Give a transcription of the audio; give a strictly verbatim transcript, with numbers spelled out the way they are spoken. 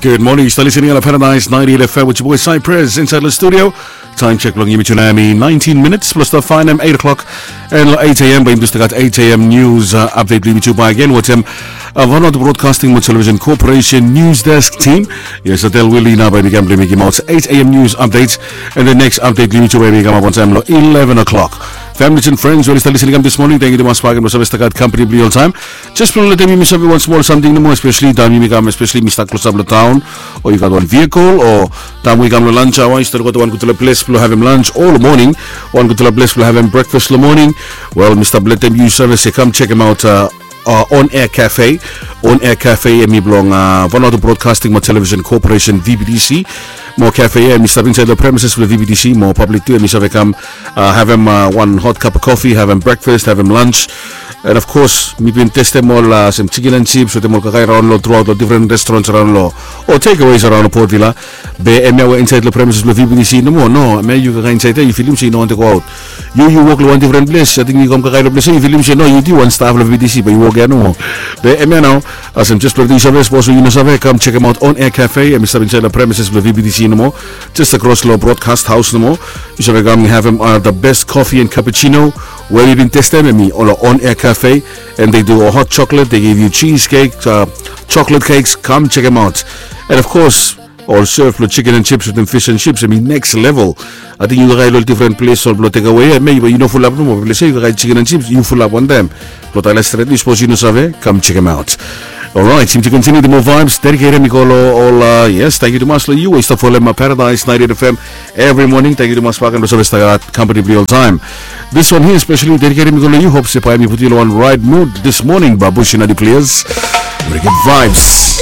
Good morning, yu stap listening long Paradise ninety-eight F M with your boy Cypress inside the studio. Time check blong yumi tu nao hemi nineteen minutes plus the five a.m. eight o'clock. And long eight a.m. bae yumi tu stap gat eight a.m. news uh, update blong yumi tu bae again. Wetem uh, Vanuatu Broadcasting mo Television Corporation News Desk team. Yes, Adel Willie nao bae yumi kam blong yumi givim out eight a.m. news update. And the next update blong yumi tu bae yumi kamap on time long eleven o'clock. Families and friends, we oli stap listening kam this morning, thank you tumas bae again blong save stap gat company blong yu oltaem. Jes blong letem yumi save wan smol samting nomo, especially taem yumi kam, especially mi stap klosap long taon, o yu gat wan vehicle, o taem we yu kam long lunch hour, yu stap gat wan gudfala ples blong havem lunch, o long moning, wan gudfala ples blong havem breakfast long moning. Wel, mi stap letem yu save se kam chekem aot uh, uh, On Air Cafe. On Air Cafe hemi blong uh, Vanuatu Broadcasting mo Television Corporation, V B T C. Mo cafe ia hemi stap insaed long premises blong V B T C, mo public tu hemi save kam uh, havem uh, wan hot cup of coffee, havem breakfast, havem lunch. And of course mi bin testem ol uh, sem chicken and chips wetem ol kakae raon long throughout long different restaurants raon long o takeaways raon long Port Vila. Be hemia we insaed long premises blong V B T C nomo, no, hemia yu kakae insaed ia yu filim se yu no wantem go aot. Yu yu wok long wan different ples, ating yu kam kakae long ples ia yu filim se no, yu tu wan staff long V B T C be yu wok ia nomo. Be hemia nao, olsem jes blong yu save, sapos yu no save, kam chekem aot On Air Cafe, hemi stap insaed long premises blong V B T C nomo, jes akros long broadcast house nomo. Yu save kam havem uh, the best coffee and cappuccino we mi bin testem, hemi ol On Air Cafe. And they do a hot chocolate, they give you cheesecake, uh, chocolate cakes. Kam chekem aot. And of course, ol serve blong chicken and chips wetem fish and chips, hemi next level. Ating yu kakae long different ples ol blong takeaway ia, hemia yu fulap nomo, ples ia yu kakae chicken and chips yu fulap wantaem. Blong talem stret, yu sapos yu no save, kam chekem aot. Alright, yumi tu continue the more vibes, dediketem i go long ol uh, yes, thank you tumas long yu we yu stap folem uh, Paradise ninety-eight F M every morning. Thank you tumas bae again blong save stap gat company blong yu oltaem. This one here especially dediketem i go long yu, hope se bae hemi putum yu long wan right mood this morning, Babushi and the Players. Very good vibes.